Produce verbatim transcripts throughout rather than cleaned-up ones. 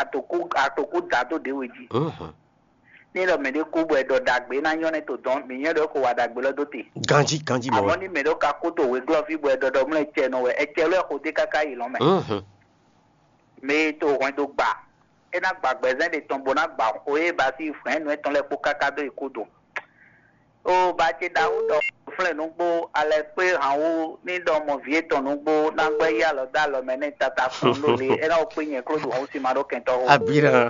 Atokú atokú dá dó ɖě we jí. Ní ɖɔ mɛɖé kú bɔ è ɖɔ ɖagbe ná nyɔ́ nɛ́ to dɔn, mǐ nyɔ́ ɖɔ é ko wa ɖagbe lɔ dó te. Ganjí, ganjí mɔ Àmọ́ wɛ. Ní mɛɖé ka kú to wěglɔ́ fí bɔ è ɖɔ ɖɔ mlɔ́ ɛ cɛ nɔ wɛ, ɛ cɛ lɔ ɛ xo dé káká yi lɔ̌n mɛ. Mɛ e to hwɛndo gba, é ná gba gbɛzɛ́n ɖe tɔn bó ná gba xo e ba sí hwɛ̌nnu étɔn lɛ́ɛ kpó káká dó yi kú do. O ba ce ɖaxó ɖɔ flɛ́n nǔgbó alɛ kpé han wú ní ɖɔ mɔ vǐ etɔn nǔgbó ná gbɛ́ yí alɔ dó alɔ mɛ nɛ́ tata kpɔn ɖó le é ná wɔ kpé nyɛ kló ɖu hɔn sí ma ɖó kɛntɔ́ xó. Abira.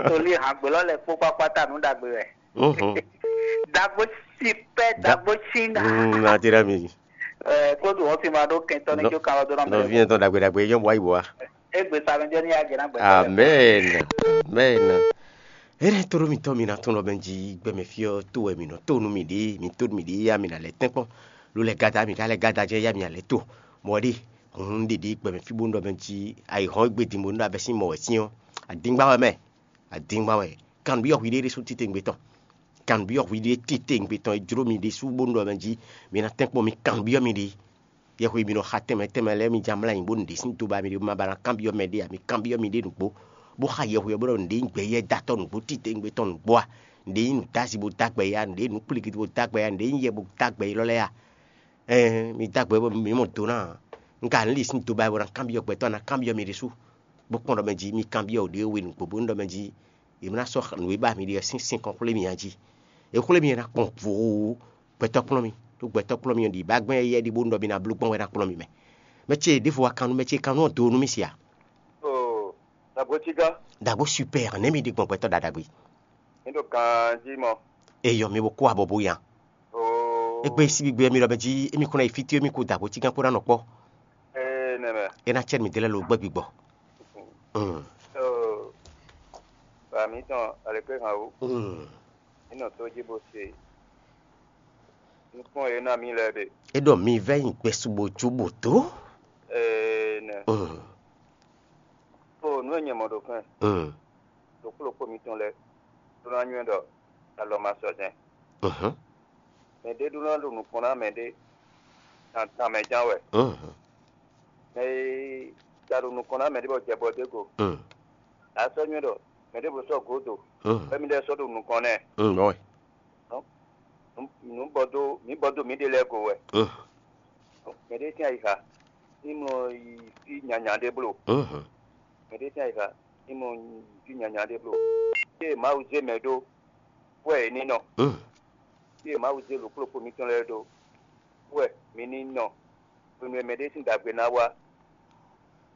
Tolí han gbelɔ lɛ kpó kpákpá ta nǔ ɖagbe wɛ. Mhm. Dagbo si pɛ Da- dagbo si na. Mm, na tira mi. Ɛ kló ɖu hɔn sí ma ɖó kɛntɔ́ ní Nɔ- jó kan lɔ dó ná mɛ. Nɔvi yɛn tɔn ɖagbe ɖagbe yɛn bɔ ayi bɔ wa. Égbé sa mɛ jɔ ní yá jɛ ná gbɛ. Amen. Amen. Ene to ɖo mitɔ mi na tɔn lɔ bɛ ji gbɛmɛ fiɔ to wɛ mi nɔ to nu mi ɖe mi to mi ɖe ya mi na lɛ tɛnkpɔn. Lo lɛ gada mi ka lɛ gada jɛ ya mi alɛ to. Mɔ ɖe hun ɖeɖe gbɛmɛ fi bo nɔ bɛ ji ayi hɔn egbe din bo nɔ abɛ sin mɔ wɛ sin ɔ. Adingba wɛ mɛ. Adingba wɛ. Kan bi ɔ hui ɖe ɖe su tite ngbe tɔn. Kan bi ɔ hui ɖe tite ngbe tɔn e jlo mi ɖe su bo nɔ bɛ ji mi na tɛnkpɔn mi kan bi ɔ mi ɖe. Yɛhweví nɔ xa tɛnmɛ tɛnmɛ lɛ́ɛ mi ján mlá nyi bó nǔɖé sín do ba mi ɖé bó ma ba ná kanbyɔ́ mɛ ɖé ǎ, mi kanbyɔ́ miɖée nǔgbó, bó xa yɛhweví ɔ́ bó ɖɔ nǔɖé nyí gbɛ̌yɛ́ dó atɔ́ nǔgbó titewungbe tɔn nǔgbó a? Nǔɖé nyí nǔdází bó dó agbɛ yá, nǔɖé nyí nǔkplígídí bó dó agbɛ yá, nǔɖé nyí yɛ bó dó agbɛ élɔ́ lɛ́ɛ a? Ɛɛn, mi dó agbɛ bó mi mɔ do ná ǎ. Un ka ní li sín do ba wɛ bó ná kanbyɔ́ gbɛtɔ́, ná kanbyɔ́ mi ɖésú, bó kpɔ́n ɖɔ mɛ jí mi kanbyɔ́ wǔ ɖé we nǔgbó bónú ɖɔ mɛ jí è nǎ sɔ́ nǔ e ba mi ɖe ɔ́ sín sinkɔn xwlé mi a jí. È xwlé mi e ná kpɔn vǒ gbɛtɔ́ kplɔ́n mi, ɖó gbɛtɔ́ kplɔ́n mi ɔ́ ɖi bá gbɛn éyɛ́ ɖi bónú ɖɔ mi ná bló gbɔn wɛ ná kplɔ́n mi mɛ. Mɛ ce ɖěvo wá kan nú mɛ ce kan nú ɔ́ do nú mì sia. Oo, dagbo cí gán. Dagbo super nɛ̌ mi ɖi gbɔn gbɛtɔ́ ɖaɖagbe. Mi ɖo ganjí mɔ. Eyɔ mi bo kó abɔ bo yan. Oo. Egbe síbi gbe mi ɖɔ mɛ jí émi kún ná yi fí tí émi kú dagbo cí gán kpó ná nɔ kpɔ́. Ee, nɛmɛ. É ná cɛ mi délɛ lo gbɛ́ gbigbɔ. Mm. Oo. Ba mi tɔn aleke hàn o. Mm. Mi nɔ tó jí bo se. Nukún e ná mi lɛ ɖe. É ɖɔ mi vɛ́ nyi gbɛsú bó jó bó dó. Ee, nɛ. Mm. O nǔ e nyɛ mɔ ɖo kɛn. Mm. Ɖokpó ɖokpó mitɔn lɛ́ɛ ɖó ná nywɛ́ ɖɔ alɔ ma sɔ jɛ́n. Mhm. Mɛ ɖé ɖó ná ɖo nukɔn ná mɛ ɖé tan tan mɛ ján wɛ. Mhm. Mɛ e ja ɖo nukɔn ná mɛ ɖé bɔ jɛ bɔ dó go. Mm. A sɔ́ nywɛ́ ɖɔ mɛ ɖěvo sɔ́ gǒdo, Mm. bɔ mi lɛ́ sɔ́ ɖo nukɔn nɛ́. Mm, bɔ wɛ. Nǔ bɔ dó mǐ bɔ dó mǐɖée lɛ́ɛ go wɛ. Mm. Mɛ ɖé sín ayixa ní mɔ yi fí nyanya ɖé bló. Mhm. Mɛ ɖé sín ayixa ní mɔ yi fí nyanya ɖé bló. Ée Mawu zé mɛ ɖó wɛ è ní nɔ. Mm. Ée Mawu zé ɖokpó ɖokpó mitɔn lɛ́ɛ ɖó wɛ mi ní nɔ. Hwenu e mɛ ɖé sín ɖagbe ná wá,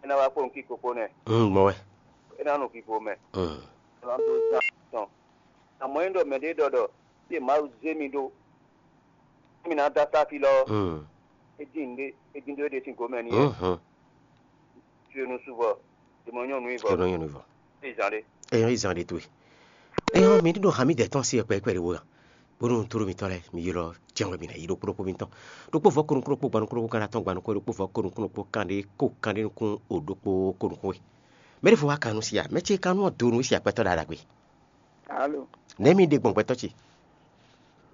é ná wá kpó nukí kpokpó nɛ́. Mm, mɔ wɛ. É ná nɔ vivo mɛ. Mm. É ná dó zán tɔn. Amɔ̌ é ɖɔ mɛ ɖé ɖɔ ɖɔ fí e Mawu zé mi ɖó, mi ná dó asá fí lɔ ɔ́, Mm. é dín nǔɖé é dín ɖó é ɖe sín gǒmɛ n'i wɛ. Mhm. Fí e nu su vɔ, è mɔ nyɔ́nu i vɔ. È nɔ nyɔ́nu i vɔ. É zán ɖé. Eyɔn yi zan ɖe towe. Eyɔn mi ɖo hami dɛ tɔn si ɛkpɛ ɛkpɛ ɖe wo ya. Bónú toro mitɔn lɛ mi ylɔ jɛn wɛ mi na yi ɖokpó ɖokpó mitɔn. Ɖokpó vɔ konu kunu kpó gbanu kunu kan atɔn gbanu kó ɖokpó vɔ konu kunu kpó kan ɖé kó kan ɖé nukún o ɖokpó konu kó. Mɛ ɖé fo wa kan nu si ya. Mɛ ce kan nu do nu si akpɛtɔ ɖa ɖagbe. Alo. Nɛ mi ɖe gbɔn gbɛtɔ ce.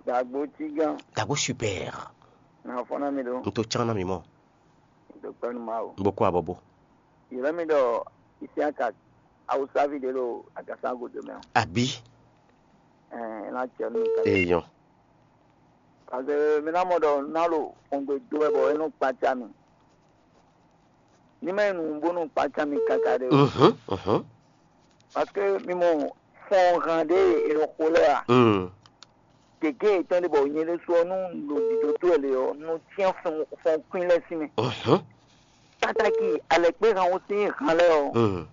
Dagbo tigán. Dagbo super. Na fɔ na mi ɖo. N to can na mi mɔ. N to kpɛnu ma o. N bo kó abɔbo. Yɛlɛ mi ɖɔ Isiaka Awusavi ɖe ɖo agasan godo mɛ o. Abi. Ɛɛ, ena cɛ nu ka. Eyɔn. Parce que mi na mɔ ɖɔ na ɖo xɔngbe do wɛ bɔ e nɔ kpatsa mi. Ní mɛ nu bónú kpatsa mi kaka ɖe o. Mhm, mhm. Parce que mi mɔ fɔn hàn ɖe e nɔ xo lɛ a. Mm. Gěgé yětɔn ɖé bɔ nyɛ ɖésú ɔ́ nú ɖo dǐdó tó wɛ lě ɔ́, nɔ cyán fɔn kwín lɛ́ɛ sín mɛ. Mhm. Pátákì alɛkpéhan ɔ́ sín han lɛ́ɛ ɔ́, Mm.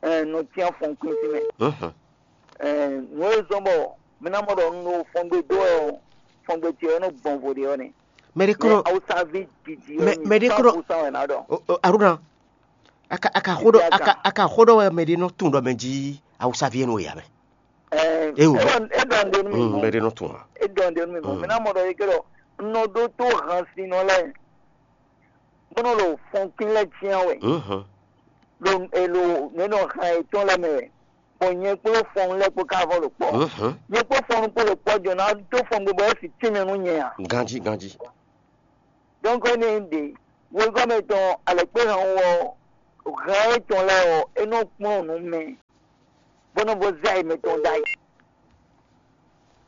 ɛɛ, nɔ cyán fɔn kwín sín mɛ. Mhm. Ɛɛ, nǔ e zɔ́n bɔ mi ná mɔ ɖɔ un ɖo fɔngbe dó wɛ ɔ́, fɔngbe ce ɔ́ nɔ gbɔn vo ɖe ɔ́ nɛ. Mɛ ɖé kɔnɔ Awusavi didi mɛ- ɔ́ mɛ ɖé kɔnɔ- san wɛ ná ɖɔ. O- o- Aruna, a ka a ka xó ɖɔ a ka a ka xó ɖɔ wɛ mɛ ɖé nɔ tún ɖɔ mɛ jí Awusavi e nɔ ya mɛ. Ɛɛ, Ewu. E dɔn e dɔn de nu mi Mm, mɔ. Mɛ ɖé nɔ tún wa. E dɔn de nu mi mɔ. Mm. Mi ná mɔ ɖɔ e ke ɖɔ nɔ ɖó tó han sin nɔ lɛ. Bónú lo fɔn kín lɛ tiɛn wɛ. Mhm. Lo e lo ne nɔ han etɔn lɛ mɛ wɛ. Bɔn nyɛ kpó fɔn lɛ kpó ka vɔ lo kpɔ. Mhm. Nyɛ kpó fɔn kpó lo kpɔ jɔ na dó fɔn gbogbo esi tɛmɛ nu nyɛ a. Ganji ganji. Donc ne ɖe wegɔmɛ tɔn alɛkpé han wɔ Hɛn étɔn lɛ́ɛ ɔ́, é nɔ kplɔ́n nǔ mɛ, bó nɔ bó zɛ ayǐ mɛtɔn ɖ'ayǐ.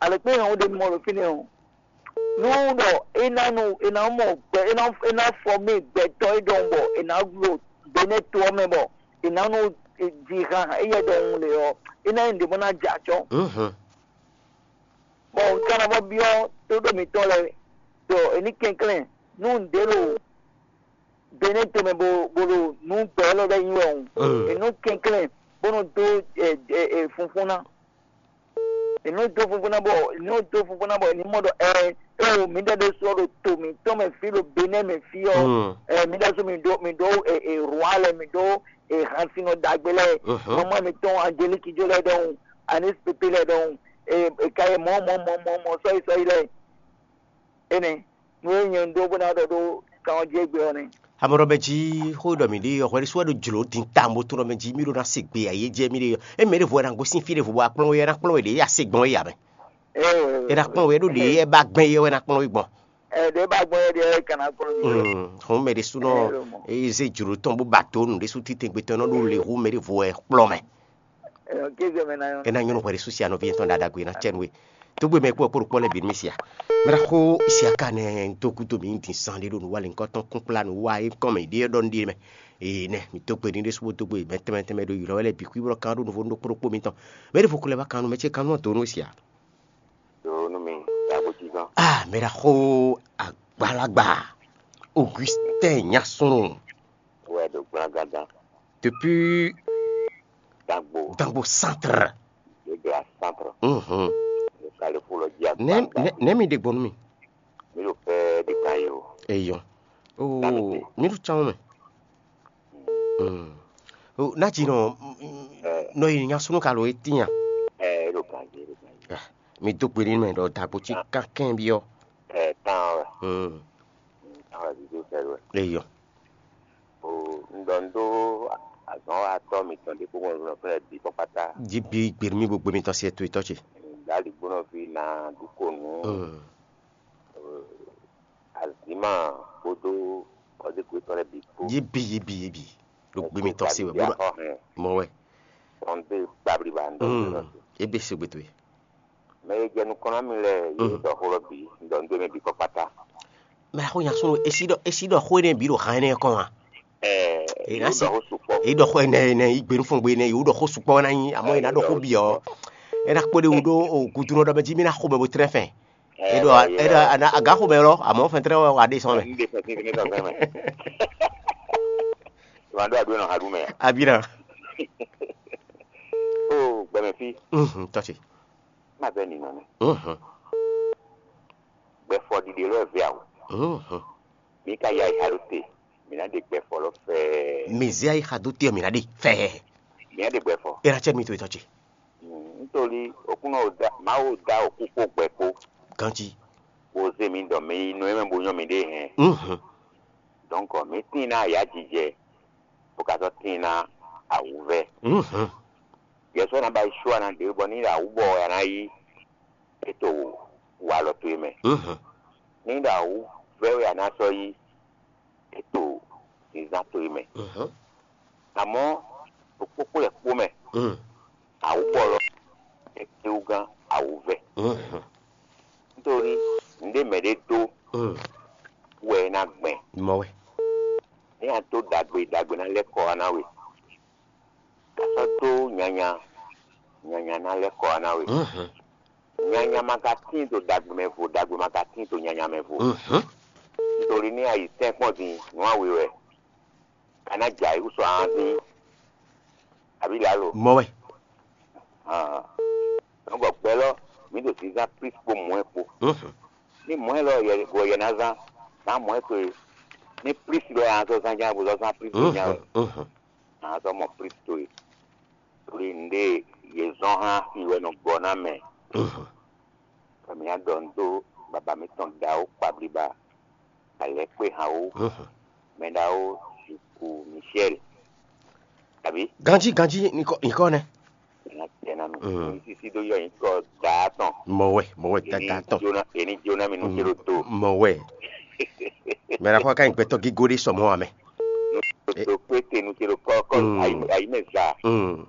Alɛkpé hɛn ɖé mɔ ɖo fínɛ́ ɔ́, nú ɖɔ é ná nu é ná mɔ gbɛ é ná é ná fɔ mì gbɛtɔ́ é ɖɔhun bɔ è nǎ ɖo Benɛ́ to ɔ́ mɛ bɔ è nǎ nɔ ji han éyɛ́ ɖɔhun lě ɔ́, é ná nyí nǔɖé bó ná jɛ acɔ́. Bɔ un ka ná bɔ byɔ́ tóɖó mǐtɔn lɛ́ɛ ɖɔ è ní kɛnklɛ́n nú nǔɖé ɖo Benɛ́ to mɛ bo bo ɖo nǔ gbɛ élɔ́ lɛ́ɛ nyi wɛ hǔn, è nɔ kɛnklɛ́n bó nɔ dó funfún ná. È nɔ dó funfún ná bɔ è nɔ dó funfún ná bɔ è ní mɔ ɖɔ ɛ é o mǐ ɖe ɖésú ɔ́ ɖo to mǐtɔn mɛ fí ɖo Benɛ́ mɛ fí ɔ́, ɛ mǐ ɖésú mǐ ɖó mǐ ɖó rwa lɛ́ɛ mǐ ɖó hansinɔ ɖagbe lɛ́ɛ, mama mǐtɔn Angeliki jó lɛ́ɛ ɖɔhun, anis pépé lɛ́ɛ ɖɔhun, è ka yi mɔ̌ mɔ̌ mɔ̌ mɔ̌ mɔ̌ sɔ́yi sɔ́yi lɛ́ɛ. Énɛ́, nú é nyɛ un ɖó bó ná ɖɔ ɖó kan ɔ́ jí égbé ɔ́ nɛ́. Amɔ̌ ɖɔ mɛ jí xó e ɖɔ mǐ ɖe ɔ́, hwɛ ɖésú wɛ ɖo jlǒ din tawun bó tunwun ɖɔ mɛ jí mì ɖó ná se gbe ayé jɛ mì ɖe ɔ́. É mɛ ɖěvo wɛ ná gosín fí ɖěvo bó wá kplɔ́n we, é ná kplɔ́n we ɖě é ya se gbɔn é ǎ mɛ. É ná kplɔ́n we, é ɖo ɖě é bá gbɛn é wɛ ná kplɔ́n we gbɔn. Ɛ ɖě bá gbɔn é ɖě é ka ná kplɔ́n mì. Hɔn mɛ ɖésúnɔ é zé jlǒ tɔn bó ba dǒ nǔ ɖésú títɛngbetɔ́ nɔ ɖó le hú mɛ ɖěvo wɛ kplɔ́n mɛ. É ná nyɔ́ nú hwɛ ɖé sú sia nɔví yětɔn ɖaɖa gbe ná cɛ nú we. Tógbé mɛ kpó kpó ɖokpó lɛ́ɛ bǐ nú mì sia. Mɛ ɖaxó sia ka nɛ dó gúdo mǐ din zan ɖé ɖo nǔ wa lě ŋkɔ́ tɔn kúnkplá nǔ wa é kɔn mɛ ɖé ɖɔ nú ɖé mɛ. Ee nɛ mǐ dó gbe ní ɖé sú bó dó gbe mɛ tɛnmɛ tɛnmɛ ɖo ylɔ́ wɛ lɛ́ɛ bǐ kwíblɔ́ kan ɖó nuvo nú ɖokpó ɖokpó mitɔn. Mɛ ɖěvo ko lɛ́ wá kan nú mɛ ce kan nú ɔ́ dǒ nú we sia. Dǒ nú mi, ɖaxó jí gán. Ah, mɛ ɖaxó agbalagba Augustin Nyasunu. Wɛ ɖo gblágádá. Depuis Dagbo. Dagbo centre. Gbégbé à centre. Mhm. Kalifo lɔ jí agbagba. Nɛ mi ɖe gbɔn nú mi. Mi ɖo fɛ ɖe kan yi o. Eyɔ. Oo, mi ɖo tsan mɛ. Mm. O, na dzi nɔ nɔ yi nya sunu ka lo eti nya. Ɛ, e ɖo kan yi, e ɖo kan yi. Mi do gbe ni mɛ ɖɔ dagbo ci kan kɛn bi ɔ. Ɛ, kan wɛ. Mm. Kan wɛ zizo fɛ wɛ. Eyɔ. O, un ɖɔ un ɖó azɔ̌nwatɔ́ mitɔn ɖé kpó mɔ̌ fɛ́nɛ bǐ kpɔ́kpátá. Jí bí gběmí gbogbo mitɔn se to itɔ́ ce. Dali gbónɔví na ɖu ko nú azǐma kpódó kɔdékú yětɔn lɛ́ɛ bǐ kpó. Yí bí yí bí yí bí ɖo gbé mitɔn se wɛ bó ɖɔ mɔ wɛ. Tɔn dé kpablíba ń ɖɔ. Ébé se gbé towe. Mɛ e jɛ nukɔn ná mi lɛ yě ɖɔ xó lɔ bǐ, un ɖɔ nú mɛ bǐ kɔ kpátá. Mɛ xó nya sunu esi ɖɔ esi ɖɔ xó énɛ́ bǐ ɖo han énɛ́ kɔn wá. Ɛɛ, èyí ná si ɖɔ xó sukpɔ. Èyí ɖɔ xó énɛ́ énɛ́ yí gbe nú fɔngbe énɛ́ yě wó ɖɔ xó sukpɔ ná nyí àmọ́ yě ná ɖɔ xó bǐ ɔ́. É ná kpó ɖe wú ɖó gudunu ɖɔ mɛ jí mí ná xó mɛ bó trɛ́n fɛn. É ɖɔ é ɖɔ aga xó mɛ lɔ àmọ́ fɛn trɛ́n wá ɖe sɔn mɛ. Ní ɖe fɛn sín fínní sɔn fɛn mɛ. Ìwà ɖó àdúrà nɔ ha ɖú mɛ. Abí ná. Ó gbɛmɛ fí. Tɔ́ ce. Má bɛ nìnɔ nɛ. Gbɛfɔ ɖiɖe lɔ vɛ awu. Mǐ ka ya yi xa ɖó te, mǐ ná ɖe gbɛfɔ lɔ fɛɛ. Mǐ zé ayi xa dó te ɔ́, mǐ ná ɖe fɛɛ. Mǐ ná ɖe gbɛfɔ. É ná cɛ mì to etɔ́ ce. Nítorí òkúnɔ Mawu dá òkú kpó gbɛ kpó. Ganjí. Bó zé mǐ ɖɔ mǐ yi nɔ e mɛ bó nyɔ́ mǐɖée hɛn. Dɔ̌nkɔ mǐ tíin ná ayǎjijɛ, bó ka sɔ́ tíin ná awǔvɛ́. Yɛ sɔ́ ná ba yi só ana ɖě bɔ ní ɖo awǔ bɔ wɛ a ná yí é to walɔ towe mɛ. Ní ɖo awǔvɛ́ wɛ a ná sɔ́ yí é to zǐnzán towe mɛ. Amɔ̌ ɖo kpókpó lɛ́ kpó mɛ, awǔbɔlɔ é kpéwúgán awǔvɛ́. Nítorí nǔɖé mɛ ɖé dó wɛ é ná gbɛn. Mɔ wɛ. Ní a dó ɖagbe ɖagbe ná lɛ́ kɔ wá ná we. Ka sɔ́ dó nyanya, nyanya ná lɛ́ kɔ wá ná we. Nyanya ma ka tíin ɖo ɖagbe mɛ vo, ɖagbe ma ka tíin ɖo nyanya mɛ vo. Nítorí ní a yi tɛ́nkpɔ́n din nǔ awe wɛ, ka ná jɛ ayǐ wú sɔ ahán dín. Abí lǎlo. Mɔ wɛ. Nɔgɔ gbɛ lɔ, mǐ ɖo zǐnzán Klísu kpó mɔ̌ kpó. Ní mɔ̌ lɔ wɔ yɛ ná zán, zán mɔ̌ towe. Ní Klísu lɔ yɛ ná zɔ́ zán ján bó zɔ́ zán Klísu ján wɛ. Ná zɔ́ mɔ Klísu towe. Ɖo nǔɖé yě zɔ́n hán xi wɛ nɔ gbɔ ná mɛ. Bɔ mǐ ná ɖɔ nǔ dó baba mǐtɔn ɖaxó kpablíba, alɛ̌kpéhanwó, mɛɖaxó Ziku Michel. Abǐ? Ganjí ganjí nyǐkɔ nɛ́. Ná tɛ ná mi. Mǐ sísí dó yɔ nyǐkɔ daa tɔn. Mɔ wɛ, mɔ wɛ gágá tɔn. Èní jóná mi nú cé ɖó tó. Mɔ wɛ. Mɛ ɖaxó ka nyí gbɛtɔ́ gígó ɖé sɔmɔ́ ǎ mɛ. Ɖo kpé te nu ce ɖo kɔ́ kɔ́ Mm. Ayi mɛ za. Mm.